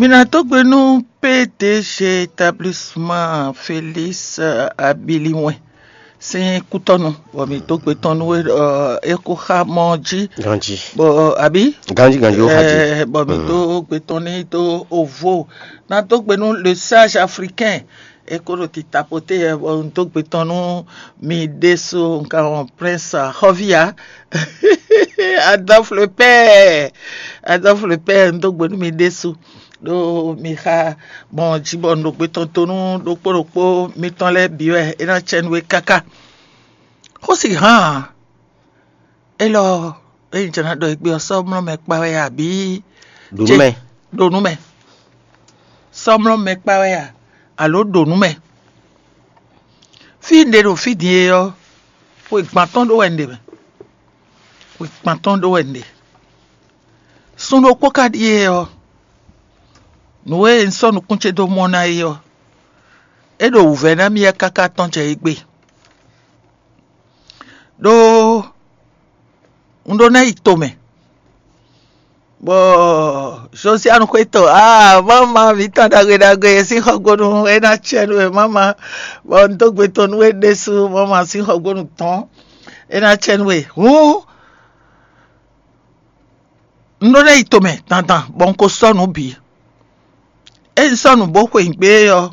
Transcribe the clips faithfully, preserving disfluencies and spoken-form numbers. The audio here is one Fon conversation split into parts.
Mi ná dó gbe nú P D G établissement Félix Abiliwɛn sín kútɔ́nu, bɔ mi dó gbe tɔn nú é, ɔ, é kó xá mɔ jí. Ganjí. Bɔ àbí? Ganjí, ganjí, ó xá jí. Ɛ, bɔ mi dó gbe tɔn ní dó ovo. Ná dó gbe nú le sage africain, é kó ɖo tita poté, ɛ, bɔ un dó gbe tɔn nú mi ɖésú, un ka wɔn prince xɔvia. Adolphe le père, Adolphe le père, un dó gbe nú mi ɖésú. Ɖó mi xa gbɔn jí bɔ un ɖo gbe tɔn to nú ɖokpó ɖokpó mitɔn lɛ́ɛ bǐ wɛ é ná cɛ nú we káká. Xó si hán ǎ. Élɔ́, ényí jɛ ná ɖɔ égbé ɔ́, sɔ́ mlɔ́ mɛ kpa wɛ a, abǐ Ɖo nú mɛ. Ɖo nú mɛ. Sɔ́ mlɔ́ mɛ kpa wɛ a, alo ɖo nú mɛ? Fí un ɖe ɖo fí din e ɔ́, xwe gban tɔn ɖó wɛ un ɖe mɛ. Xwe gban tɔn ɖó wɛ un ɖe. Sun ɖokpó ka ɖíe ɔ́, nǔ e un sɔ́ nukún ce dó mɔ ná é ɔ́, é ɖo wǔvɛ́ ná mì wɛ káká tɔ́n jɛ égbé. Ɖó un ɖó ná yi tomɛ, bɔ Josianu xwé tɔn, aa, mama mǐtɔn ɖagbe ɖagbe e sín xɔgbónu é ná cɛ nú we, mama, bɔ un dó gbe tɔn nú we ɖésú, mama sín xɔgbónu tɔn é ná cɛ nú we. Hǔn un ɖó ná yi tomɛ dandan, bɔ un ko sɔ́ nǔ bǐ. Ényí un sɔ́ nǔ bó xwe nǔgbé ɔ́,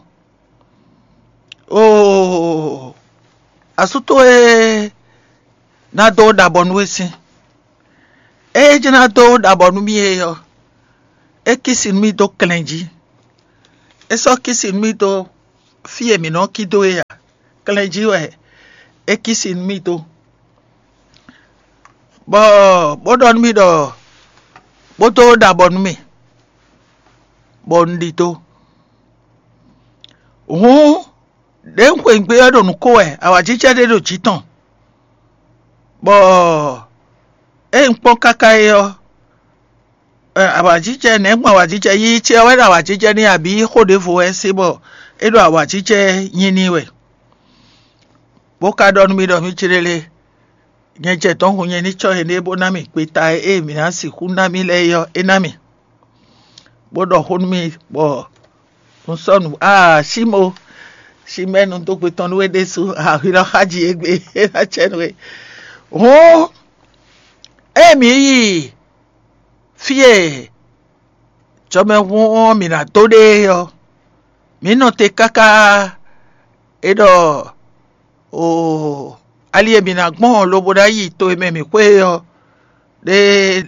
oo, asú towe ná dó ɖabɔ nú we sín. Ée é jló ná dó ɖabɔ nú mì é ɔ́, é kísi nú mì dó klɛn jí. É sɔ́ kísi nú mì dó fí e mǐ nɔ cí dó é ǎ. Klɛn jí wɛ é kísi nú mì dó, bɔ bó ɖɔ nú mì ɖɔ bó dó ɖabɔ nú mì, bɔ un ɖidó. Hǔn, ɖě un xweyǐgbe ɔ́ ɖo nǔ ko wɛ, awǎjijɛ ɖé ɖo jǐ tɔn, bɔ ée un kpɔ́n káká é ɔ́, awǎjijɛ nɛ̌ gbɔn awǎjijɛ yíyí ce ɔ́ wɛ ɖo awǎjijɛ n'i, abǐ xó ɖěvo wɛ é se bɔ é ɖo awǎjijɛ nyi n'i wɛ, bó ka ɖɔ nú mì ɖɔ mì jlélé, nyɛ jɛ dɔ̌n hun nyɛ ní cɔ́ énɛ́ bó ná mì gbeta e mǐ ná sixú ná mì lɛ́ɛ é ɔ́, é ná mì, bó ɖɔ xó nú mì, bɔ un sɔ́ nǔ. Aa, Símo, Símɛ́nu dó gbe tɔn nú we ɖésú, ahwi lɔ xá ji égbé, é ná cɛ nú we. Hǔn, ée mǐ yi fí e jɔmɛhún ɔ́ mǐ ná dó ɖe é ɔ́, mǐ nɔ te káká. É ɖɔ, oo, ali e mǐ ná gbɔn lobo ná yi to e mɛ mǐ xwe é ɔ́, ɖe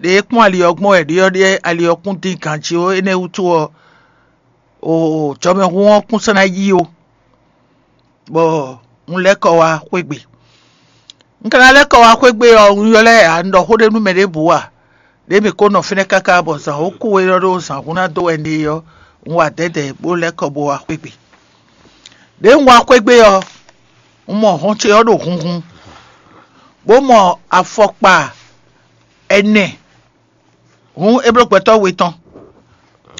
ɖe e kpɔ́n ali ɔ́ gbɔn wɛ ɖyɔ́ɖyɔ́ ali ɔ́ kún dín ganjí ó. Énɛ́ wútu ɔ́, oo, jɔmɛhún ɔ́ kún sɔ́ ná yí ó, bɔ un lɛ́ kɔ wá xwé gbe. Un ka ná lɛ́ kɔ wá xwé gbe ɔ́, un ylɔ́ ɛ ǎ, un ɖɔ xó ɖé nú mɛ ɖěbǔ ǎ. Ɖě mǐ ko nɔ fínɛ́ káká bɔ zǎn ó kú é ɖɔ ɖó zǎn hún ná dó wɛ un ɖe é ɔ́, un wa dɛ̌dɛ̌ bó lɛ́ kɔ bó wá xwé gbe. Ɖěe un wá xwé gbe ɔ́, un mɔ hɔn ce ɔ́ ɖo hunhun, bó mɔ afɔkpa ɛnɛ, hǔn é bló gbɛtɔ́ we tɔn.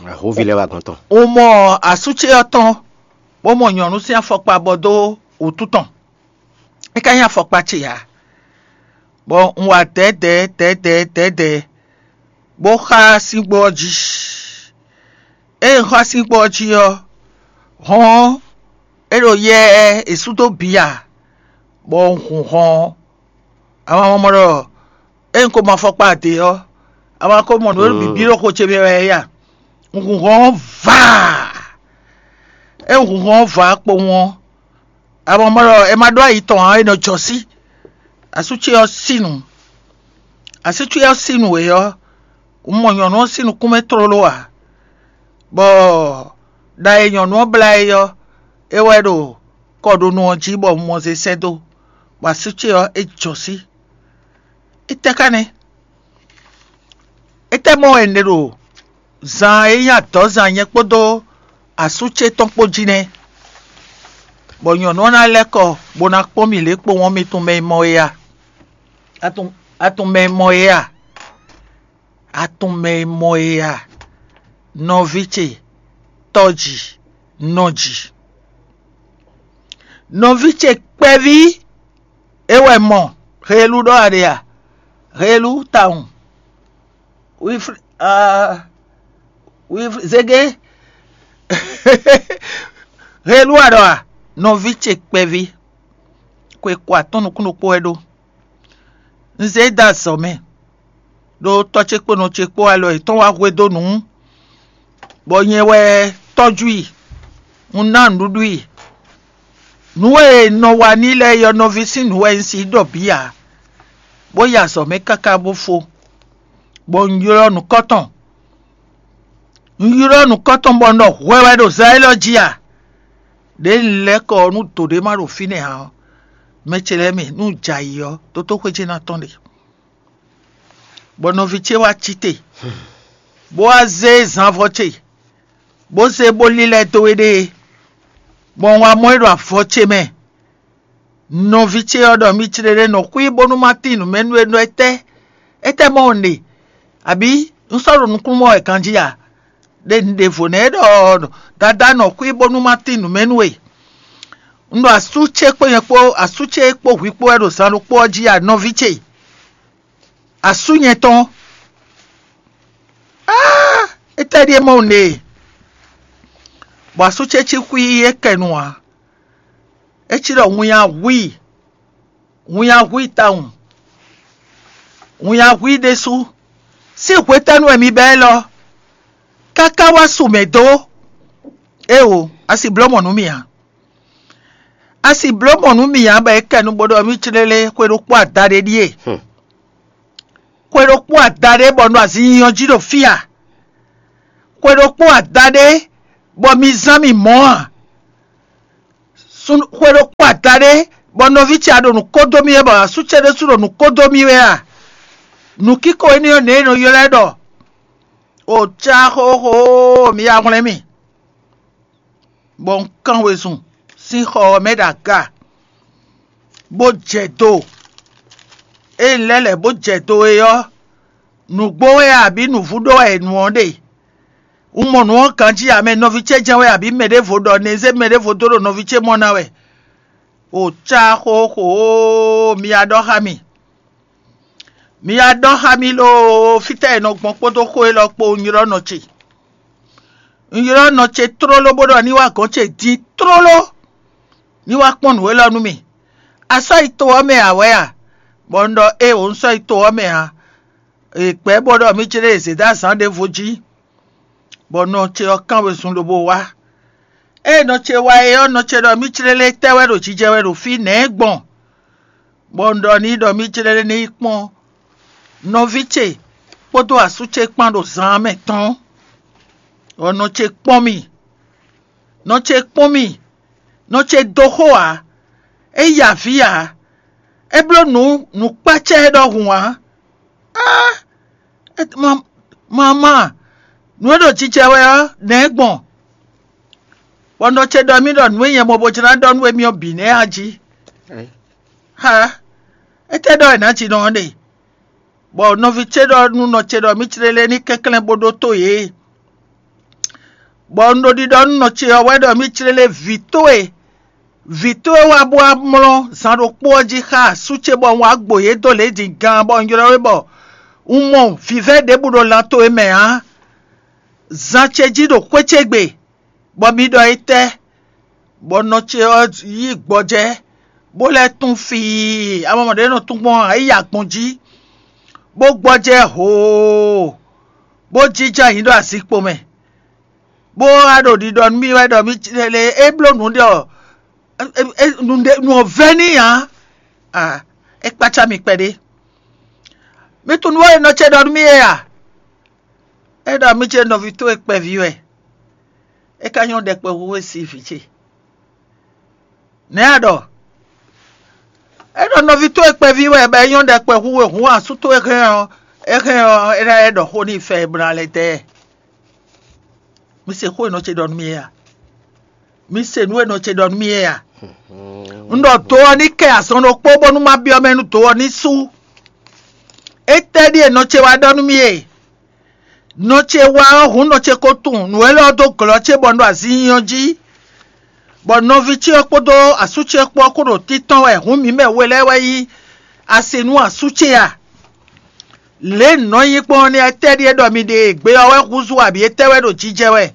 Ahóvi lɛ́ɛ wá gɔ́n tɔn. Un mɔ asú ce ɔ́ tɔn, bó mɔ nyɔ̌nu sín afɔkpa bɔ dó wǔtu tɔn. É ka nyí afɔkpa ce ǎ, bɔ un wa dɛ̌dɛ̌ dɛ̌dɛ̌ dɛ̌dɛ̌, bó xá síngbó ɔ́ jí. Ée un xá síngbó ɔ́ jí ɔ́, hɔn ɔ́, é ɖo yɛ e sú dó bǐ ǎ, bɔ un hun hɔn ɔ́. Ama mɔ ɖɔ ée un ko mɔ afɔkpa ade ɔ́, ama ko mɔ nǔ e ɖo bǐbí ɖo xo ce mɛ wɛ é a? Un hun hɔn ɔ́ vaa. Ée un hun hɔn ɔ́ vaa kpowun ɔ́, ama mɔ ɖɔ è ma ɖó ayi tɔn ǎ, è nɔ jɔ sí. Asú ce ɔ́ sí nǔ. Asú ce ɔ́ sí nǔ e ɔ́, un mɔ nyɔ̌nu ɔ́ sín nukún mɛ tlóló ǎ, bɔ ɖa e nyɔ̌nu ɔ́ blá é ɔ́, é wɛ ɖo kɔɖonu ɔ́ jí bɔ un mɔ zé sɛ́ dó, bɔ asú ce ɔ́, é jɔ sí. Étɛ́ ka nɛ́? Étɛ́ mɔ wɛ un ɖe ɖo zan e nyí adɔ̌zan nyɛ kpódó asú ce tɔn kpó jí nɛ́, bɔ nyɔ̌nu ɔ́ ná lɛ́ kɔ bó ná kpɔ́n mì lě kpowun ɔ́, mi tunwun mɛ e mɔ é a? A tunwun, a tunwun mɛ e mɔ é a? A tunwun mɛ e mɔ é a? Nɔví ce, tɔ́ji, nɔji. Nɔví ce kpɛví é wɛ mɔ. Helu ɖɔ a ɖe a? Helu tawun. Wifl-, ah, Wifl-, Zege, Helu a ɖɔ a? Nɔví ce kpɛví, xwe ko atɔ́n nukún ɖokpó wɛ ɖó. Un zé dó azɔ̌ mɛ, ɖó tɔ́ ce kpó nɔ ce kpó alɔ yětɔn wá hwedó nǔ, bɔ nyɛ wɛ tɔ́jú i, un ná nǔɖuɖu i. Nǔ e nɔ wa n'i lɛ́ɛ é ɔ́, nɔví sín nǔ wɛ un si ɖɔ bǐ ǎ, bó yi azɔ̌ mɛ káká bó fó, bɔ un ylɔ́ nǔkɔ́tɔn. Un ylɔ́ nǔkɔ́tɔn bɔ un ɖɔ hwɛ wɛ ɖo zan élɔ́ jí a? Ɖěe un lɛ́ kɔ ɔ́ nú dǒ ɖé ma ɖo fínɛ́ ǎ ɔ́, mɛ ce lɛ́ɛ mi, nú un jɛ ayǐ ɔ́, dótóxwé ce ná tɔ́n ɖe. Bɔ nɔví ce wá cí te, bó wá zé zanvɔ ce, bó zé bó lílɛ́ dó éɖée, bɔ un wá mɔ ɛ ɖo avɔ ce mɛ. Nɔví ce ɔ́ ɖɔ mì clé ɖé nɔ xwí bónú má tín nǔ mɛ nú we nú étɛ́? Étɛ́ mɔ un ɖe? Abǐ un sɔ́ ɖo nukúnnú mɔ wɛ ganjí a? Ɖe un ɖevo nɛ́ ɖɔ dadá nɔ xwí bónú má tín nǔ mɛ nú we. Un ɖo asú ce kpó nyɛ kpó asú ce kpó hwi kpó wɛ ɖo zan ɖokpó ɔ́ jí a, nɔví ce? Asú nyɛ tɔn. Áa, étɛ́ ɖíe mɔ un ɖe? Bɔ asú ce cí xwí é kɛ nu ǎ. É cí ɖɔ winnya hu i, winnya hu i tawun, winnya hu i ɖésú. Sín hwetɛ́nu wɛ mi bɛ́ élɔ́, káká wá su mɛ dó? Éeǒ, a si bló mɔ̌ nú mì ǎ. A si bló mɔ̌ nú mì ǎ bɔ é kɛ nu bó ɖɔ mì clélé xwe ɖokpó adaɖé ɖíe. Xwe ɖokpó adaɖé bɔ un ɖo azin nyinyɔ jí ɖo fí a? Xwe ɖokpó adaɖé bɔ mi zán mì mɔ̌ a? Xwe ɖokpó adaɖé bɔ nɔví ce a ɖo nǔ kó dó mì wɛ bɔ asú ce ɖésú ɖo nǔ kó dó mì wɛ a? Nǔkíko énɛ́ ɔ́ nɛ̌ è nɔ ylɔ́ ɛ ɖɔ? O cá xóxó, mi ya hwlɛ́n mì. Bɔ un kán wezun sín xɔ ɔ́ mɛ ɖo aga, bó jɛ do. Ée un lɛ́ lɛ̌ bó jɛ do é ɔ́, nǔgbó wɛ abǐ nǔvú ɖó wɛ è nu ɔ́ ɖe? Un mɔ nǔ ɔ́ ganjí ǎ mɛ, nɔví ce jɛ́n wɛ abǐ mɛ ɖěvo ɖɔ nɛzé mɛ ɖěvo dó ɖo nɔví ce mɔ ná wɛ? O cá xóxó, mi ya ɖɔ xá mì. Mi ya ɖɔ xá mì loo, fítɛ́ è nɔ gbɔn kpódó xó élɔ́ kpó un ylɔ́ nɔ ce. Un ylɔ́ nɔ ce tlóló bó ɖɔ ní wá gɔ̌n ce din tlóló, ní wá kpɔ́n nǔ élɔ́ nú mì. A sɔ́ yi to ɔ́ mɛ ǎ wɛ a? Bɔ un ɖɔ éeǒ, un sɔ́ yi to ɔ́ mɛ ǎ. È gbɛ̌ bó ɖɔ mì céɖé è zě dó azǎn ɖěvo jí, bɔ nɔ ce ɔ́ kán wezun lobo wá. Ée nɔ ce wá é ɔ́, nɔ ce ɖɔ mì céɖé lɛ́ɛ tɛ́ wɛ ɖo jijɛ wɛ ɖo fí nɛ̌ gbɔn? Bɔ un ɖɔ n'i ɖɔ mì jlɛ́ ní yi kpɔ́n nɔví ce kpódó asú ce kpán ɖo zaan mɛ tɔn, bɔ nɔ ce kpɔ́n mì. Nɔ ce kpɔ́n mì, nɔ ce dó xó ǎ, é yi avǐ ǎ, é bló nǔ nǔkpácá ɛ ɖɔhun ǎ. Á, mamá, nǔ e ɖo jijɛ wɛ ɔ́, nɛ̌ gbɔn? Bɔ nɔ ce ɖɔ mì ɖɔ nǔ e nyɛ mɔ bó jlá ɖɔ nú émí ɔ́ bǐ nɛ́ a jí. Ha, étɛ́ ɖɔ è nǎ ji nɔ ɔ́ ɖe? Bɔ nɔví ce ɖɔ nú nɔ ce ɖɔ mì clélé ní kɛnklɛ́n bó ɖótó yě. Bɔ un ɖo ɖiɖɔ nú nɔ ce ɔ́ wɛ ɖɔ mì clélé vǐ towe, vǐ towe wá bó wá mlɔ́ zan ɖokpó ɔ́ jí xá asú ce bɔ un wá gbo yě dó lě din gaan bɔ un ylɔ́ we bɔ un mɔ vǐvɛ́ ɖěbǔ ɖo lan towe mɛ ǎ. Zan ce jí ɖo xwé ce gbe, bɔ mi ɖɔ étɛ́? Bɔ nɔ ce ɔ́ yí gbɔjɛ́, bó lɛ́ tún fii, amamɔ ɖě nɔ tún gbɔn ǎ, é yi agbɔn jí, bó gbɔjɛ́ hoo, bó jínjɔ́n ayǐ ɖo azinkpo mɛ, bó wá ɖo ɖiɖɔ nú mì wɛ ɖɔ mì lě é bló nǔ ɖe ɔ́, nǔ ɔ́ vɛ́ n'i ǎ. A, é kpácá mi kpɛɖé. Mi tunwun nǔ e nɔ ce ɖɔ nú mì é a? É ɖɔ mì ce nɔví towe kpɛví wɛ, é ka nyɔ́ ɖɛkpɛ hu we si vǐ ce. Nɛ̌ a ɖɔ? É ɖɔ nɔví towe kpɛví wɛ bɔ é nyɔ́ ɖɛkpɛ hu we hǔn asú towe hɛn ɔ́, é hɛn ɔ́, é ná lɛ́ ɖɔ xó n'i fɛ e bla lɛ́ dɛ. Mi se xó e nɔ ce ɖɔ nú mì é a? Mi se nǔ e nɔ ce ɖɔ nú mì é a? Un ɖɔ do ɔ́ ní kɛ azɔn ɖokpó bónú má byɔ́ mɛ nú do ɔ́ ní sú. Étɛ́ ɖíe nɔ ce wá ɖɔ nú mì é? Nɔ ce wá ɔ́ hǔn nɔ ce ko tunwun nǔ élɔ́ dó glɔ́ ce bɔ un ɖo azin nyi ɔ́ jí, bɔ nɔví ce ɔ́ kpódó asú ce ɔ́ kpó ɔ́ kó ɖo títɔn wɛ hǔn mǐ mɛ we lɛ́ɛ wɛ nyí asi nú asú ce a? Lě e nǔ nɔ nyí gbɔn ɔ́ nɛ́, étɛ́ ɖíe ɖɔ mi ɖe e gbe ɔ́ wɛ húzú abǐ étɛ́ wɛ ɖo jijɛ wɛ?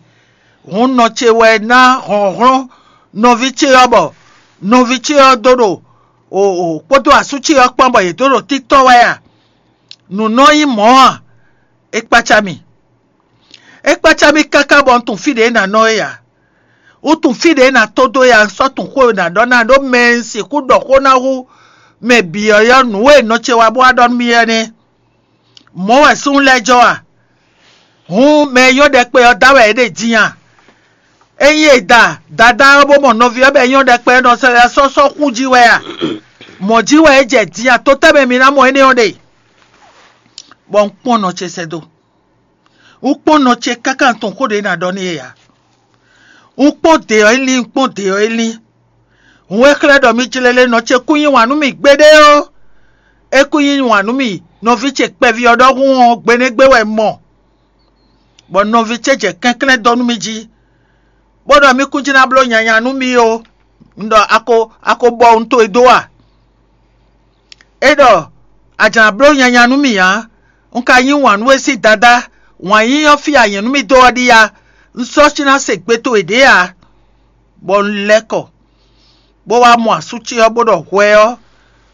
Hǔn nɔ ce wɛ ná hlɔ̌nhlɔ́n nɔví ce ɔ́, bɔ nɔví ce ɔ́ dó ɖo o kpódó asú ce ɔ́ kpán, bɔ yě dó ɖo títɔ́ wɛ a? Nǔ nɔ nyí mɔ̌ a? É kpácá mì. É kpácá mì káká bɔ un tunwun fí ɖě ná nɔ é ǎ. Un tunwun fí ɖě ná tó dó é ǎ, un sɔ́ tunwun xó e ná ɖɔ ná ɖó mɛ e un sixú ɖɔ xó ná hú mɛ bǐ ɔ́, yɔ nǔ e nɔ ce wá bó wá ɖɔ nú mì ɔ́ nɛ́. Mɔ̌ wɛ súnnu lɛ́ɛ jɔ a? Hǔn mɛ e nyɔ́ ɖɛkpɛ ɔ́ da wɛ é ɖe din a? Ényí è da dadá ɔ́ bó mɔ nɔví ɔ́ bɔ é nyɔ́ ɖɛkpɛ ɔ́, nɔ sɛ́ sɔ́ sɔ́ xú jí wɛ a? Mɔ̌ jí wɛ é jɛ din a? To tɛ́ mɛ mi ná mɔ énɛ́ ɔ́ ɖe? Bɔ un kpɔ́n nɔ ce sɛ́ dó. Un kpɔ́n nɔ ce káká un tunwun xó ɖě ná ɖɔ n'i é ǎ. Un kpɔ́n dě ɔ́ é lín, un kpɔ́n dě ɔ́ é lín. Hǔn é xlɛ́ ɖɔ mì jlélé nɔ ce kún yí wǎn nú mì gbeɖé ó. É kún yí wǎn nú mì nɔví ce kpɛví ɔ́ ɖɔhun ɔ́, gbenégbé wɛ un mɔ, bɔ nɔví ce jɛ kɛnklɛ́n dɔ́ nú mì jí, bó ɖɔ mì kún jí ná bló nyanya nú mì ó. Un ɖɔ a ko a ko bɔ wun towe dó a? É ɖɔ a jǎ ná bló nyanya nú mì ǎ. Un ka yí wǎn nú we sín dadá, wǎn yíyí ɔ́ fí a nyɛ̌ nú mì dó ɔ́ ɖíe a? Un sɔ́ cí ná se gbe towe ɖě ǎ. Bɔ un lɛ́ kɔ, bó wá mɔ asú ce ɔ́, bó ɖɔ hwɛ ɔ́,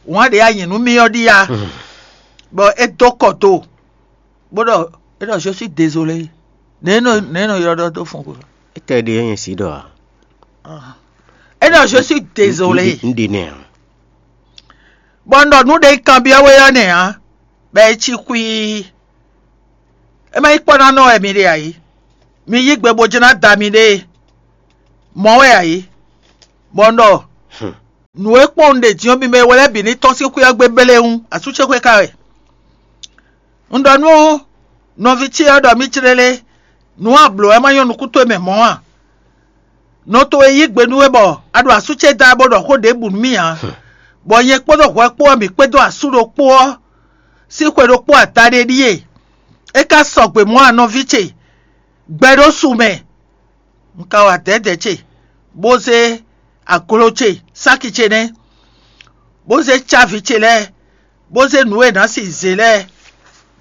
wǎn ɖě a nyɛ̌ nú mì ɔ́ ɖíe a? Bɔ é dó kɔ do, bó ɖɔ é ɖɔ je suis désolé. Nɛ̌ nɔ nɛ̌ nɔ ylɔ́ ɖɔ dó fɔn xwe? Étɛ́ ɖe é nyɛ sí ɖɔ ǎ? É ɖɔ je suis désolé. Un ɖe nɛ ǎ. Bɔ un ɖɔ nǔ ɖe kanbyɔ́ we ɔ́ nɛ́ ǎ, bɔ é cí xwíí. É má nyí kpɔ́ ná nɔ wɛ mi ɖe ǎ é. Mi yí gbe bó jló ná da miɖée. Mɔ̌ wɛ ǎ é. Bɔ un ɖɔ nǔ e kpɔ́n un ɖe din ɔ́, mi mɛ e wɛ lɛ́ɛ bǐ ní tɔ́n sín xwé ɔ́ gbe bélé wú, asú ce xwé ka wɛ. Un ɖɔ nú nɔví ce ɔ́ ɖɔ mì clélé, nǔ a blǒ wɛ ma nyɔ́ nukún towe mɛ mɔ̌ a? Nɔ towe yí gbe nú we bɔ a ɖo asú ce da bó ɖɔ xó ɖěbǔ nú mì ǎ, bɔ nyɛ kpódó hwɛ kpó ɔ́, mǐ kpédó asú ɖokpó ɔ́ sín xwe ɖokpó adaɖé ɖíe. É ka sɔgbe mɔ̌ a nɔví ce? Gbɛ ɖó su mɛ. Un ka wa dɛ̌dɛ̌ ce, bó zé aglo ce, sáki ce nɛ́, bó zé cávi ce lɛ́ɛ, bó zé nǔ e è nǎ si zě lɛ́ɛ,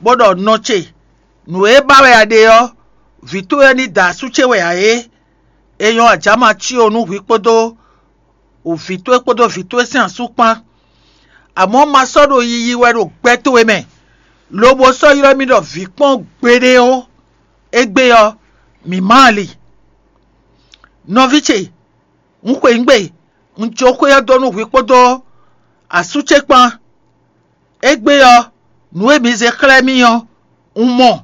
bó ɖɔ nɔ ce, nǔ e ba wɛ a ɖe ɔ́, vǐ towe ɔ́ ní da asú ce wɛ ǎ é. É nyɔ́ ajǎma cí o nú hwi kpódó vǐ towe kpódó vǐ towe sín asú kpán. Amɔ̌ ma sɔ́ ɖo yiyi wɛ ɖo gbɛ towe mɛ, lobo sɔ́ ylɔ́ mì ɖɔ vǐ kpɔ́n gbeɖé ó. Égbé ɔ́, mǐ má ali. Nɔví ce, un xweyǐgbe, un jó xwé ɔ́ dó nú hwi kpódó asú ce kpán. Égbé ɔ́, nǔ e mi zé xlɛ́ mì ɔ́, un mɔ.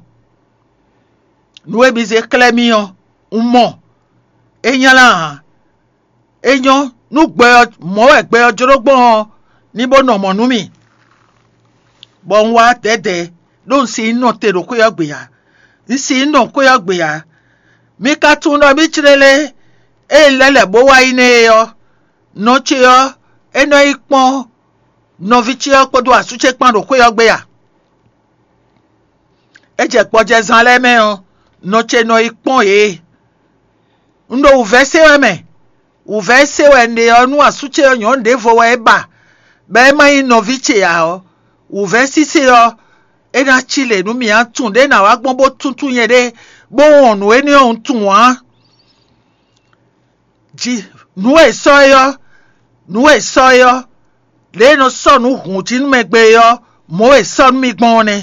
Nǔ e mi zé xlɛ́ mì ɔ́, un mɔ. É nylá ǎ. É nyɔ́ nú gbɛ ɔ́, mɔ̌ wɛ gbɛ ɔ́ jló gbɔn ɔ́, ní bó nɔ mɔ̌ nú mì, bɔ un wá dɛ̌dɛ̌, ɖó un si nyí nɔ te ɖo xwé ɔ́ gbe ǎ. Un si nyí nɔ xwé ɔ́ gbe ǎ. Mi ka tunwun ɖɔ mì clélé ée un lɛ́ lɛ̌ bó wá yi nɛ́ é ɔ́, nɔ ce ɔ́, é nɔ yi kpɔ́n nɔví ce ɔ́ kpódó asú ce kpán ɖo xwé ɔ́ gbe a? É jɛ gbɔjɛzán lɛ́ɛ mɛ ɔ́, nɔ ce nɔ yi kpɔ́n yě. Un ɖo wǔvɛ́ se wɛ mɛ. Wǔvɛ́ se wɛ un ɖe ɔ́, nú asú ce ɔ́ nyɔ̌nu ɖěvo wɛ é ba, bɔ é má nyí nɔví ce ǎ ɔ́, wǔvɛ́ sísé ɔ́, é ná cí lě nú mì. A tunwun ɖě ná wá gbɔn bó túntún nyɛɖée, bó wɔn nǔ énɛ́ ɔ́, un tunwun ǎ. Ji nǔ e sɔ́ é ɔ́, nǔ e sɔ́ é ɔ́, lě e nɔ sɔ́ nǔ hǔn jí nú mɛ gbe é ɔ́, mɔ̌ e sɔ́ nú mì gbɔn ɔ́ nɛ́.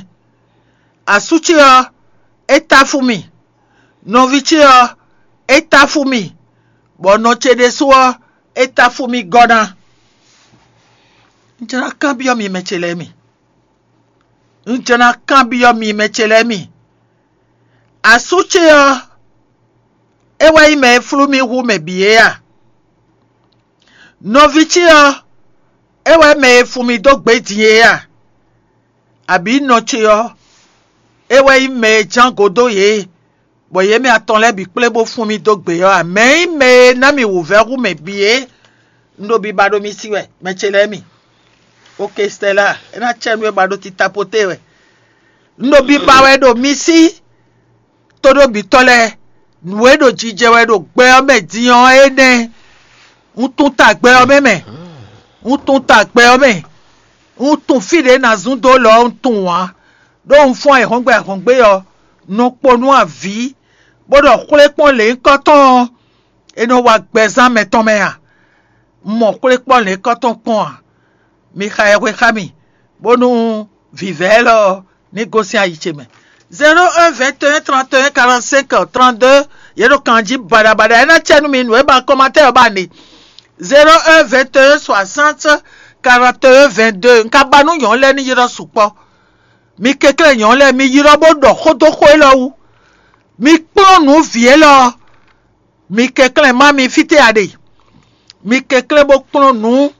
Asú ce ɔ́, é táfú mì; nɔví ce ɔ́, é táfú mì; bɔ nɔ ce ɖésú ɔ́, é táfú mì gɔ́ ná. Un jló ná kanbyɔ́ mi mɛ ce lɛ́ɛ mi. Un jló ná kanbyɔ́ mi mɛ ce lɛ́ɛ mi. Asú ce ɔ́, é wɛ nyí mɛ e flú mì hú mɛ bǐ é a? Nɔví ce ɔ́, é wɛ mɛ e fun mì dó gbě din é a? Abǐ nɔ ce ɔ́, é wɛ nyí mɛ e ján go dó yě, bɔ yě mɛ atɔn lɛ́ɛ bǐ kplé bó fun mì dó gbě ɔ́ a? Mɛ̌ nyí mɛ e ná mì wǔvɛ́ hú mɛ bǐ é? Un ɖo biba ɖo mi sí wɛ, mɛ ce lɛ́ɛ mi. Oke Stɛla, é ná cɛ nú we ba ɖo tita poté wɛ. Un ɖo biba wɛ ɖo mi sí, tóɖóbítɔ́ lɛ́ɛ, nǔ e ɖo jijɛ wɛ ɖo gbɛ ɔ́ mɛ din ɔ́ énɛ́. Un tunwun ta gbɛ ɔ́ mɛ mɛ. Un tunwun ta gbɛ ɔ́ mɛ. Un tunwun fí ɖě ná zún dó lɔ ɔ́, un tunwun ǎ. Ɖó un fɔ́n ayǐhɔ́ngbe ayǐhɔ́ngbe ɔ́, nɔ kpo nú avǐ, bó ɖɔ xwlékpɔ́n lěhunkɔtɔn ɔ́, é nɔ wá gbɛzán mɛtɔn mɛ a? Un mɔ xwlékpɔ́n lěhunkɔtɔn kpɔ́n a? Mi xa yɛhwe xá mì, bónú vǐvɛ́ élɔ́ ɔ́ ní gosín ayi ce mɛ. Zéro un vingt et un trente et un quarante-cinq trente-deux, yě ɖo kan jí baɖabaɖa. É ná cɛ nú mi nǔ e ba kɔmatɛ́ ɔ́ ba ne. Zéro un vingt et un soixante quarante et un vingt-deux. Un ka ba nú nyɔ̌nu lɛ́ɛ ní ylɔ́ sukpɔ́. Mi kɛnklɛ́n nyɔ̌nu lɛ́ɛ, mi ylɔ́ bó ɖɔ xó dó xó élɔ́ wú. Mi kplɔ́n nǔ vǐ élɔ́ ɔ́, mi kɛnklɛ́n má mi fítɛ́ a ɖe. Mi kɛnklɛ́n bó kplɔ́n nǔ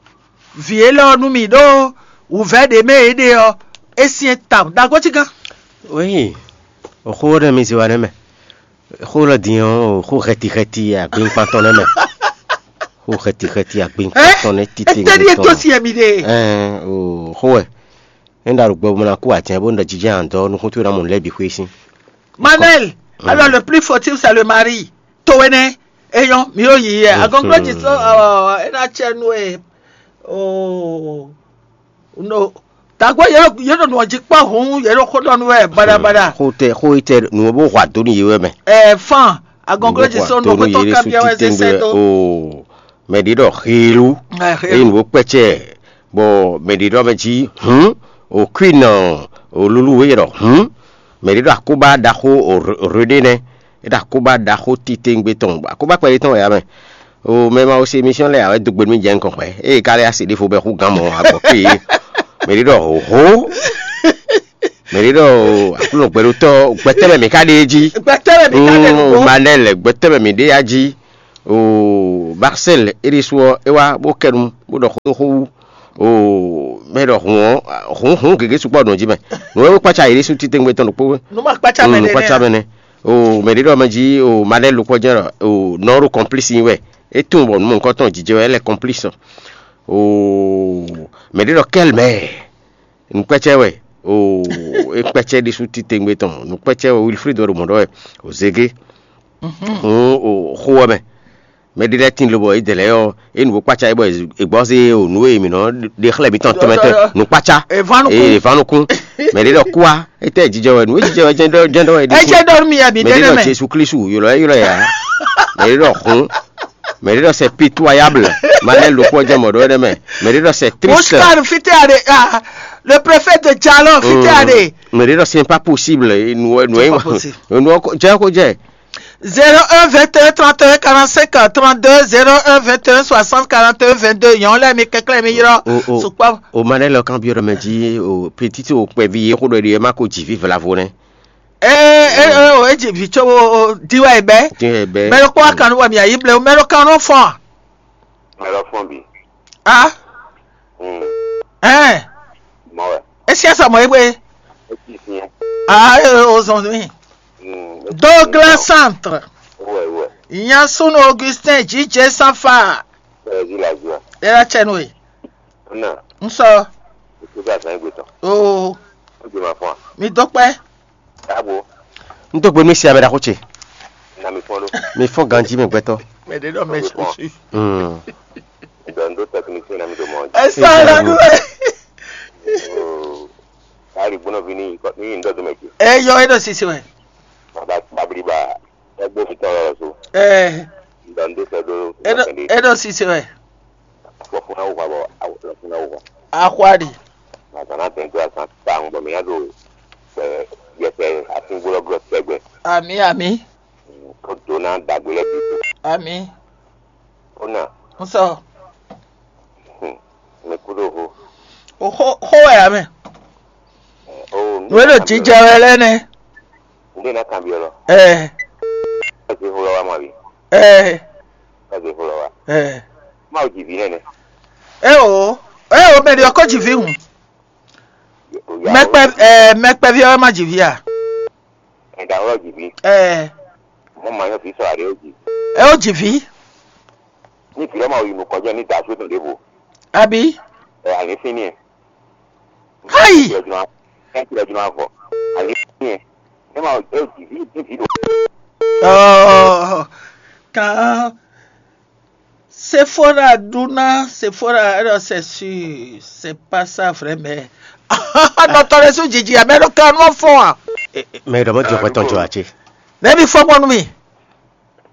vǐ élɔ́ ɔ́ nú mì ɖó wǔvɛ́ ɖě mɛ é ɖe ɔ́, é syɛ́n tawun. Ɖagó cí gán. Oui, xó ɖé mi zé wa nɛ́ mɛ. Xó lɔ din ɔ́, xó xɛti xɛti agbínkpan tɔn nɛ́ mɛ. Xó xɛti xɛti agbínkpan tɔn nɛ́ títí. Étɛ́ ɖíe tó sin mi ɖe. Ɛn o, xó wɛ. É ɖo alɔ gbɔ bó ná kú ǎ, bó ɖɔ jijɛ andɔ nukún towe ná mɔ nǔ lɛ́ɛ bǐ xwé sín. Manuel, alors le plus fautif c'est le mari. Towe nɛ, eyɔn mi yóò yi yɛ. Agɔnglɔ́ jí sɔ, é ná cɛ nú e. Oh, no. Tagbo yɛ ɖo nɔ jí kpɔ hun, yɛ ɖo xó ɖɔ nú wɛ baɖabaɖa. Xó tɛ xó yi tɛ nǔ bó hwa dó nú yé wɛ mɛ. Ɛ fan, agɔnglɔ́ jí sɔ nú xótɔ kábíyá wɛ zé sɛ dó. O mɛ ɖé ɖɔ xélu. Eye nǔ bó kpɛcɛ, bɔ mɛ ɖé ɖɔ mɛ jí hǔn, o kwin nɔ, o lulu wé ɖɔ hǔn. Mɛ ɖé ɖɔ akóbá ɖaxó o rede nɛ. É ɖo akóbá ɖaxó titewungbe tɔn, akóbá kpɛɖé tɔn wɛ ǎ mɛ. O mɛ ma wo se émission lɛ́ɛ ǎ wɛ dó gbe nú mì jɛ nukɔn xwɛ. Ée ka lɛ́ asi ɖěvo bɔ é xú gǎn mɔ agbɔ̌ kpé yě. Mɛ ɖé ɖɔ hǒhó. Mɛ ɖé ɖɔ aklúnɔ gbɛɖótɔ́ gbɛtɛ́ mɛ mǐ ka ɖe é jí. Gbɛtɛ́ mɛ mǐ ka ɖe nǔgbó. Manɛl gbɛtɛ́ mɛ mǐ ɖe á jí. O Marcel é ɖésú ɔ́, é wá bó kɛ nu bó ɖɔ xó dó xó wú. O mɛ ɖɔ hǔn ɔ́, hǔn hǔn gěgé sukpɔ́ ɖo nǔ jí mɛ. Nǔ e kpácá yě ɖésú títewungbe tɔn ɖokpó. Nǔ ma kpácá mɛ nǔ kpácá mɛ nɛ. O mɛ ɖé ɖɔ mɛ jí o Manɛl ɖokpó jɛ́n ɖɔ o nɔ ɖo kɔnplísi nyi wɛ. É tunwun bɔ nǔ mɔ̌hunkɔtɔn jijɛ wɛ é lɛ kɔnplísi. O mɛ ɖé ɖɔ kɛ́l mɛ. Nukpɛ́cɛ wɛ o, é kpɛ́cɛ ɖésú titewungbe tɔn. Nukpɛ́cɛ wɛ Wilfried wɛ ɖo mɔ̌ ɖɔ wɛ o zégé. Hǔn o xó ɔ́ mɛ. Mɛ ɖé lɛ́ɛ tín lobɔ é dɛ lɛ́ɛ ɔ́, é nu bó kpácá é bɔ è gbɔ́ zé o nǔ e mǐ nɔ ɖe xlɛ́ mǐtɔn tɔnmɛ tɔn nǔkpácá. È ván nukún. Mɛ ɖé ɖɔ kúá, étɛ́ jijɛ wɛ nǔ e jijɛ wɛ jɛ́n ɖɔ jɛ́n ɖɔ wɛ ɖi. É jɛ́n ɖɔ nú mi wɛ mǐ mɛ ɖé ɖɔ mɛ. Jesu Klisu ylɔ́ ɛ ylɔ́ ɛ ǎ. Mɛ ɖé ɖɔ hǔn. Mɛ ɖé ɖɔ c'est pitoyable. Malɛ lókpɔ jɛ mɔ ɖɔ ɛnɛ mɛ. Mɛ ɖé ɖɔ c'est triste. Oscar fite are ah, le préfet de Jalon fite are. Mɛ ɖé ɖɔ c'est pas possible. Nu nu C'est pas possible. Nu jɛ ko jɛ. Zéro un vingt et un trente et un quarante-cinq trente-deux, zéro un vingt et un soixante quarante et un vingt-deux. Nyɔ̌ lɛ́ mi kɛklɛ́ mi ylɔ́. O o sukpɔ́. O ma ɖe lɔ kan byɔ́ ɖɔ mɛ jí o petit o kpɛví yé xó ɖɔ ɖi ɛ má ko jǐ ví vlavo nɛ. Ee ee o e ji vi tso o o di wɛ bɛ. Dín ɛ bɛ. Mɛ ɖo kpɔ kan nu wɛ mi ayi ble mɛ ɖo kan nu fɔn. Mɛ lɔ fɔn bi. A. Hmm. Ɛn. Mɔ wɛ. Esi asa mɔ egbe. Esi fiɛ. A e o zɔn mi. Hmm. Douglas Centre. Wɛ wɛ. Yasun Augustin J J Sanfa. Ɛ di la zua. Era tsɛ nu e. Na. N sɔ. Kutu azan egbe tɔn. Oo. O di ma fɔn. Mi dɔ kpɛ. Abo. N tó gbe nú sia mɛ ɖaxó ce. Na mi fɔn ɖo. Mi fɔn ganji mɛ gbɛtɔ. Mɛ ɖe ɖɔ mɛ susu. Hmm. Dɔn do technicien na mi do mɔ. Esa la nu. Ari gbɔnɔ vi ni ni ndo do mɛ ji. E yɔ e ɖo sisi wɛ. Baba babli ba. Egbo fi tɔ lɔ so. Eh. Dɔn do sɛ do. E ɖo e ɖo sisi wɛ. Lɔfuna wò hwa bɔ lɔfuna wò hwa. Axwa ɖi. Azan na tɛn to azan ta ŋu bɔ mi nya do. Yɛtɛ asingbó lɔ glɔ tɛgbɛ. Ami ami. Kó do na dagbe lɛ bi. Ami. Ó nà. N sɔ. Mi kú ɖo ho. O xó xó wɛ ame. Ó. Nú e ɖo jijɛ wɛ lɛ nɛ. N ɖe na kan bi lɔ. Ɛ. Ɛ ti ho lɔ wa ma bi. Ɛ. Ɛ ti ho lɔ wa. Ɛ. Ma o ji vi nɛnɛ. Ɛ o. Ɛ o mɛ ɖi ɔkɔ ji vi hùn. Mɛkpɛ ɛ mɛkpɛvi ɔ́ ma ji vi a? Ɛda ɔ́ ji vi. Ɛ. Mo ma nyɔ vi sɔ aɖe o ji. Ɛ o ji vi. Ní vi lɔ ma yi nukɔn jɛ ní da so tɔn ɖěvo. Abi. Ɛ alɛ fín ni. Hayi. Ɛ ti lɛ juna vɔ. Alɛ fín ni. Ɛ ma o ji vi ní vi do. Ɔ kan. Sephora ɖuna Sephora, alors c'est sûr, c'est pas ça vrai, mais nɔtɔrɛ su jiji amɛ ɖo kan nɔ fɔ wa. Mais ɖɔ mɔ jɔ pɛtɔn jɔ atse. Ɖevi fɔ́n gbɔn nú mì.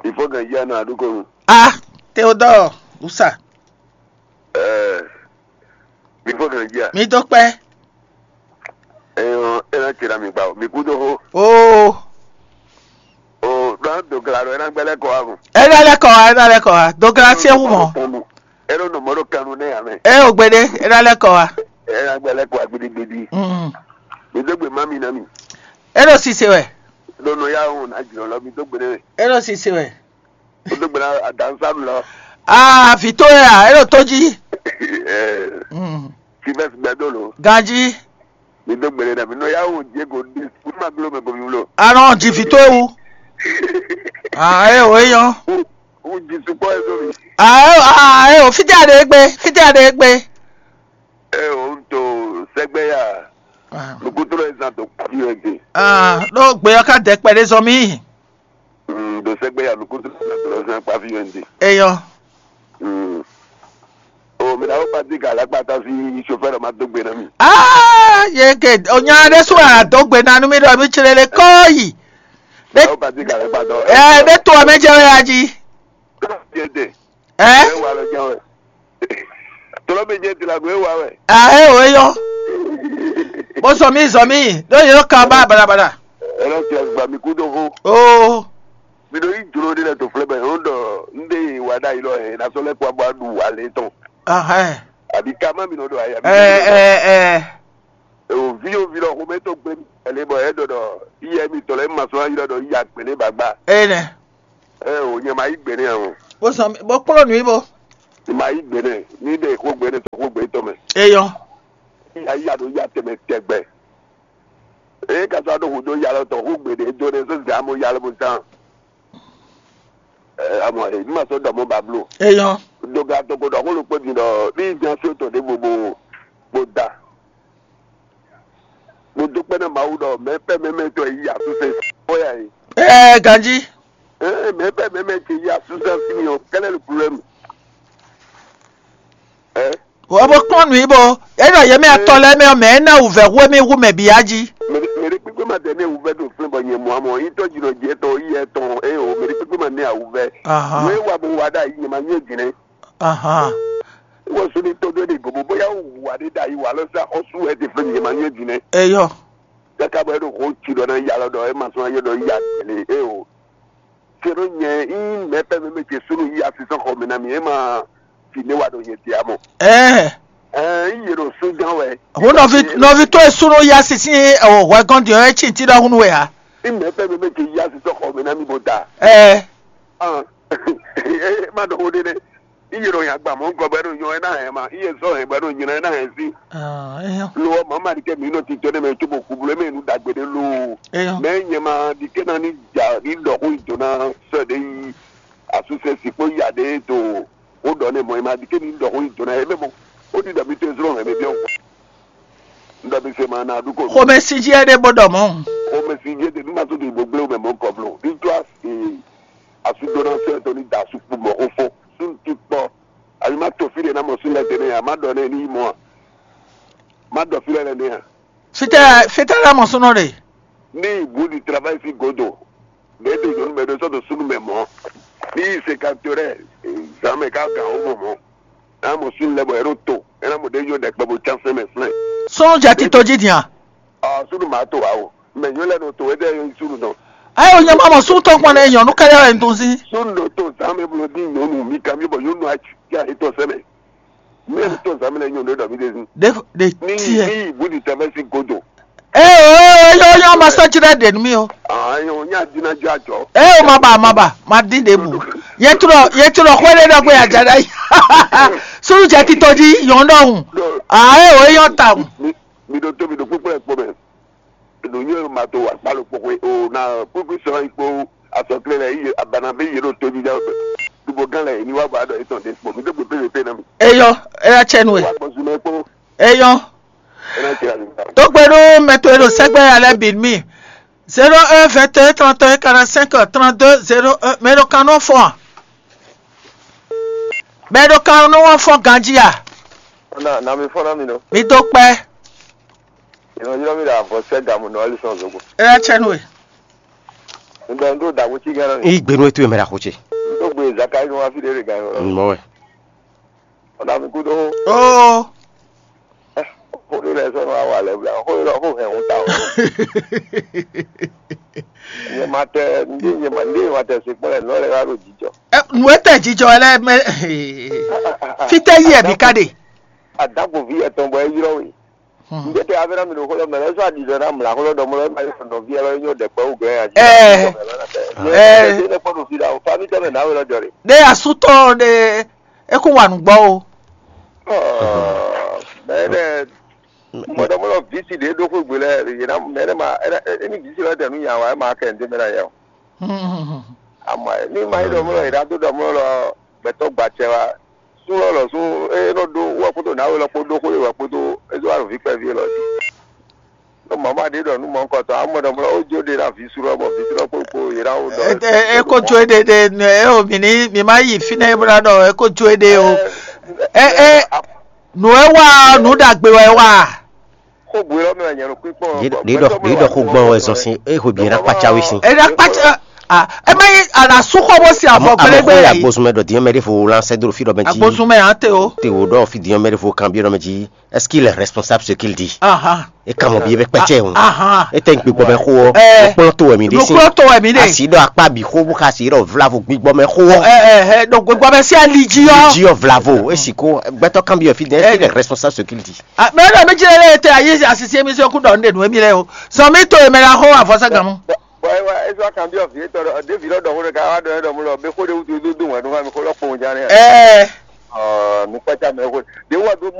Ìfɔ́gàn jí àná àdúgbò mi. A Théodore Usa. Ɛɛ, mi fɔ́gàn jí à. Mi dó kpɛ́. Ɛyɔ, ɛ ná tira mi gba o. Mi kú dó xó. Oo. O ɖɔ dogla ɖɔ ɛ ná gbɛlɛ kɔ wa mɔ. Ɛ ná lɛ kɔ wa, ɛ ná lɛ kɔ wa. Dogla sí ewu mɔ. Ɛ ɖo nɔ mɔ ɖo kanu nɛ ya mɛ. Ɛ o gbede, ɛ ná lɛ kɔ wa. Ɛ ná gbɛlɛ kɔ wa gbidigbidi. Mm. Mi dó gbe má mi ná mi. Ɛ ɖo sise wɛ. Ɖo nɔ ya o na jlɔ lɔ mi dó gbe nɛ. Ɛ ɖo sise wɛ. Wodó gbe ná adansánu lɔ. Aa, vǐ towe a, é ɖo tó jí. Ɛɛ, Mm. Silvɛsi gbɛdó lo. Ganjí. Mi dó gbe ɖé ɖe mi nɔ ya wo Diego di. Mi ma gbló mɛ ko mi wlo. Arɔn jí vǐ towe wú. Aa, é o é nyɔ́. Wo jí sukpɔ ɛ sómi. Aa, é o, fítɛ́ a ɖe é gbé, fítɛ́ a ɖe é gbé. Ɛ o, n to sɛgbɛ ya. Ah. Nukutolo ɛ zan to kpavi wɛ de. Ah, ɖó gbe ɔ́ ká dɛ kpɛɖé zɔn mì. Mm, ɖo sɛgbɛ ya nukúnsin lɔ zán kpa fí wɛ un ɖe. Eyɔ. Mm. O mi ɖaxó Patrick Alakpata sí chauffeur ma dó gbe ná mi. Ah, ye ke o nya ɖé sú a dó gbe ná nú mi ɖɔ mi tslele kɔ yi. Ɖaxó Patrick Alakpata. Ɛ ɖé to ɔmɛ jɛ wɛ aji. Yɛ de. Ɛ. Ɛ wa lɔ jɛ wɛ. Tɔlɔ mi jɛ tilago e wa wɛ. Ah, ɛ o eyɔ. Bó zɔn mì zɔn mì ɖó yɛ ka ba balabala. Ɛ lɔ tilago gba mi kú dó xó. Oo. Mi ɖo yi jlo ɖe lɛ to flɛ bɛ yɔn ɖɔ n ɖe wa ɖa yi lɔ yɛ na sɔ lɛ kó abɔ aɖu wa lɛ tɔn. Ahɛn. Àbí ká má mi nɔ ɖo ayé àbí. Ɛ ɛ ɛ. Ewo vi yo vi lɔ xomɛ to gbe mi ɛlɛ bɔ ɛ ɖɔ ɖɔ iyɛ mi tɔ lɛ ma sɔ ayi ɖɔ ɖɔ iya gbɛnɛ bagba. Ene. Ɛ o nyɛ ma yi gbɛnɛ o. Bó sɔn bó kplɔ́ nǔ yi bó. Ma yi gbɛnɛ ni ɖe xo gbɛnɛ tɔ xo gbɛ tɔ mɛ. Eyɔ. Iya iya ɖo ya tɛmɛ tɛgbɛ. Eye ka sɔ aɖo hu ɖo ya lɔ tɔ hu gbe ɖe do ɖe so zan mo ya lɔ mo zan. Ɛ amɔ e ma sɔ dɔ mo bablo. Eyɔ. Doga to ko dɔ ko lo kpo din dɔ ni jan so to de bo bo bo da. Mo dúpẹ́ ná Mawu ɖɔ mɛ pɛ́ mɛ mɛ tɔn yi asúsɛ bóyá yi. Ɛɛ ganjí. Ɛɛ mɛ pɛ́ mɛ mɛ tɔn yi asúsɛ fi mi ɔ kɛlɛ le problème. Ɛ. Wɔ bó kplɔ́n nǔ yi bó. Enɔ yɛ mɛ atɔ lɛ mɛ mɛ ná wǔvɛ́ hwé mi hu mɛ bǐ á jí. Mɛ ɖe kpékpé ma tɛ ne wǔvɛ́ ɖo flɛ́n bɔ nyɛ mɔ amɔ yi tɔ́ jìnnà jɛ tɔn yi yɛ tɔn ɛ o mɛ ɖe kpékpé ma ne awǔvɛ́. Ahan. Nú é wa bó wa ɖ'ayǐ nyɛ ma nyɛ jìnnɛ. Ahan. Wɔ suni tɔn ɖé ɖe gobo bóyá wò wà ɖé ɖ'ayǐ wà lɔ sá xɔsú wɛ ɖe flɛ́n nyɛ ma nyɛ jìnnɛ. Eyɔ. Kaka bɔ e ɖo xo tsi ɖɔ ná ya lɔ ɖɔ e ma sɔn ayé ɖɔ ya tɛlɛ e o. Sero nyɛ yi mɛ pɛ mɛ mɛ ce sunu yi asisɔn xɔ mɛ na mi e ma fi ne wa ɖo nyɛ dia mɔ. Ɛɛ. Ɛɛ yi yɛ ɖo sunjan wɛ. Ho nɔvi nɔvi to e sunu yi asisi o hwɛ gɔn di ɔ e tsi ti ɖɔ hunu wɛ a. Yi mɛ pɛ mɛ mɛ ce yi asisɔn xɔ mɛ na mi bo da. Ɛɛ. Ɔn. E ma ɖɔ wo ɖe nɛ. Iye ɖo nya gba mɔ̌ gɔ́ bɔ é ɖo nyɔ é ná hɛn ma, iye zɔ́ hɛn bɔ é ɖo nylá é ná hɛn sí. Lo ɔ́, mǎ ma ɖi kɛ mǐ nɔ tito nɛ́ mɛ cóbɔ kubló émɛ nǔ ɖagbe ɖé loo. Mɛ nyɛ ma ɖi kɛ ná ní ja ní ɖɔ xó nyi do ná sɔ́ ɖě yi asúsɛ sí kpó ya ɖě do xó ɖɔ nɛ́ mɔ̌ é ma ɖi kɛ ní ɖɔ xó nyi do ná é mɛ mɔ ó ɖi ɖɔ mi tó zlɔ́ hɛn mi biɔ. N ɖɔ mi se ma ná ɖu ko. Xomɛ sí jí é ɖé bó ɖɔ mɔ̌. Xomɛ sí jí é ɖé nú ma tó ɖi gbogblé mɛ mɔ̌ kɔ blo. Ní tó asú dó ná sɛ́ tó ní da asú kpó mɔ̌ xó fó. Sú ní tí kpɔ́. Àbí má to fí ɖé ná mɔ sú lɛ́ tɛnɛ́ ǎ, má ɖɔ nɛ́ ní yi mɔ a? Má ɖɔ fí lɛ́ lɛ́ nɛ́ a? Fítɛ́ fítɛ́ lɛ́ mɔ súnɔ ɖe. Ní ìbú di travail sí godo. Bɛ́ do nyɔ̌nu mɛ ɖé sɔ́ do súnú mɛ mɔ̌. Ní yi se ka to rɛ zǎn mɛ ká gǎn ó mɔ mɔ̌. Ná mɔ súnú lɛ́ bɔ é ɖo to. É ná mɔ ɖě nyɔ́ ɖɛkpɛ bó cán sɛ́n mɛ flɛ́n. Súnú jɛ tito jí din a? Ɔ súnú mǎ to ǎ o. Mɛ nyɔ̌nu lɛ́ nɔ to é ɖɛ́ nyɔ́ súnú dɔn. Ayi o nyɛ ma mɔ súnú tɔn kpɔn ɖe nyɔ̌nu kɛɖɛ wɛ un tunwun sín. Súnú ɖo to zǎn mɛ blo dín nyɔ̌nu mi kanbyɔ́ bɔ nyɔ̌nu á cí ayé tɔn sɛ́ mɛ. Mɛ mi tɔn zǎn mɛ lɛ́ nyɔ̌nu ɖé ɖɔ mí ɖe zín. Ɖe ɖe Ní tiɛ. Ní ìbú di tɛmɛ sí godo. Ee o ee o yɔ yɔ ma sɔ tsi ɖe ɖe nú mi o. Aa yɔ nya dina jɔ ajɔ. Ee o ma ba ma ba ma dín ɖe bu. Yɛ trɔ yɛ trɔ xɔ ɖe ɖɔ pé adza ɖe ayi. Sunu jɛ titɔ dzi yɔn ɖɔhun. Aa ee o yɔ ta hùn. Mi mi ɖo tó mi ɖo kpókpó ɛ kpó mɛ. Ɖo nyɔ ma to akpalo kpokpo o na kpókpó sɔ yi kpó asɔkle lɛ yi abana bɛ yi ɖo tó dzi dza. Dubo gán lɛ yi ni wa ba ɖɔ etɔn ɖe kpó mi ɖo kpókpó lɛ pé na mi. Eyɔ eya tsɛ nu e. Wa gbɔ zumɛ kpó. Eyɔ. Ena tsi la mi ta. Tó gbe ɖó mɛ to e ɖo sɛgbɛ ya lɛ bi mi. Zéro un vingt et un trente et un quarante-cinq trente-deux zéro un mɛ ɖo kan nɔ fɔn a? Mɛ ɖo kan nɔ fɔn ganji a? Na na mi fɔn na mi nɔ. Mi dó kpɛ. Ìrànlọ́wọ́ mi ɖo avɔ sɛ gamu nɔ ɛli sɔn zogo. Eya tsɛ nu e. Un ɖɔ un ɖo dǎgbó cí gán nɔ. Yí gbe nú étú e mɛ ɖaxó ce. Un ɖo gbe Zakayi nɔ wá fí ɖé ɖe gán yɔ. Mɔ wɛ. Ɔ́ ɖa mi kúdó. Ó. Xó ɖé lɛ́ɛ sɔ́ nɔ wá wa lɛ́ bla xó ɖé lɔ xó hɛn hun ta o. Nyɛ ma tɛ ndé nyɛ ma ndé nyɛ ma tɛ se kpɔ́n lɛ nɔ lɛ wá ɖo jijɔ. Ɛ, nǔ e tɛ jijɔ lɛ mɛ. Fítɛ́ yí ɛ bǐ ká ɖe. Adágboví etɔn bɔ é ylɔ́ we. Ŋjɛ tɛ avɛ na mi ɖo xó lɔ mɛ lɔ sɔ aɖi ɖɔ na mla xó lɔ ɖɔ mɔ lɔ ma yɔ nɔvi lɔ nyɔ ɖɛkpɛ wú glɛ ya. Ɛɛ. Ɛɛ. Ɛɛ ne kpɔ ɖo fi la o fa mi tɛ mɛ na we lɔ jɔ le. Ɖe asutɔ ɖe eku wa nǔgbɔ o. Mɛ ne mɔdɔmɔlɔ visi ɖe ɖo xó gbe lɛ yena mɛ ne ma eni visi lɔ tɛ nu nya wa ma kɛ ŋde mɛ na yɛ o. Ama ni ma yi ɖɔ mɔ lɔ yena do ɖɔ mɔ lɔ gbɛtɔ gbatsɛ wa. Sú lɔ lɔ sú e nɔ ɖó wɔ kpódó nǎwe lɔ kpó ɖó xó e wɔ kpódó e dó alɔ vǐ kpɛví lɔ jí. Nɔ mama ɖé ɖɔ nú mɔ̌hunkɔtɔn amɔ ɖɔ mlɔ ó jó ɖe ná vǐ sú lɔ bɔ vǐ sú lɔ kpó kpó yě ná wó ɖɔ. E ko jó ɖe ɖe ɛ o mi ní mi má yi fínɛ́ bó ná ɖɔ e ko jó ɖe o. Ɛ ɛ nǔ e wá ɔ́ nǔ ɖagbe wɛ wá. Xógbe lɔ mɛ wɛ nyɛ ɖo kpíkpɔ́n. Ɖě ɖɔ xó gbɔn wɛ zɔn sín é hwe bǐ ná kpácá wí sín. Ena kpatsa. Ah, ema yi ana su xɔ bó si avɔ Amɔ gbɛlɛ gbɛ xó ya yi. Gbósùn mɛ ɖɔ diɲɛ mɛ ɖé fo lan sɛ dro fi ɖɔ mɛ jí. Agbósùn mɛ ante o. Te wo ɖɔ fi diɲɛ mɛ ɖé fo kan bi ɖɔ mɛ jí. Est-ce qu'il est responsable ce qu'il dit? Aha. E kan mɔ bi e bɛ kpɛcɛ o. Aha. E tɛ n gbegbo mɛ xo ɔ. Ɛ. Kplɔn to wɛ mi ɖe sin. Kplɔn to wɛ mi ɖe. Asi ɖɔ akpa bi xo bu ka si ɖɔ vlavo gbigbɔ mɛ xo ɔ. Ɛ ɛ ɛ donc gbegbo mɛ si ali jí ɔ. Jí ɔ vlavo e si ko gbɛtɔ kan bi ɔ fi dɛ. Est-ce qu'il est responsable ce qu'il dit? Ah, mais non, mais je l'ai été à Yézé à Sissi émission coup d'onde nous émile o. Son mito e mela ho à force gamu. Bɔn bɔn ayiwa ezɔ kan bi ɔvi etɔ ɖe ɖevi lɔ ɖɔxo ɖe ka wa ɖɔ ɖɔ mu lɔ be xo ɖe wutu do do wɛn ɖo ma mi xo lɔ kpɔn ja ne. Eh. Ɔ nukpata mɛ xo ɖe wa do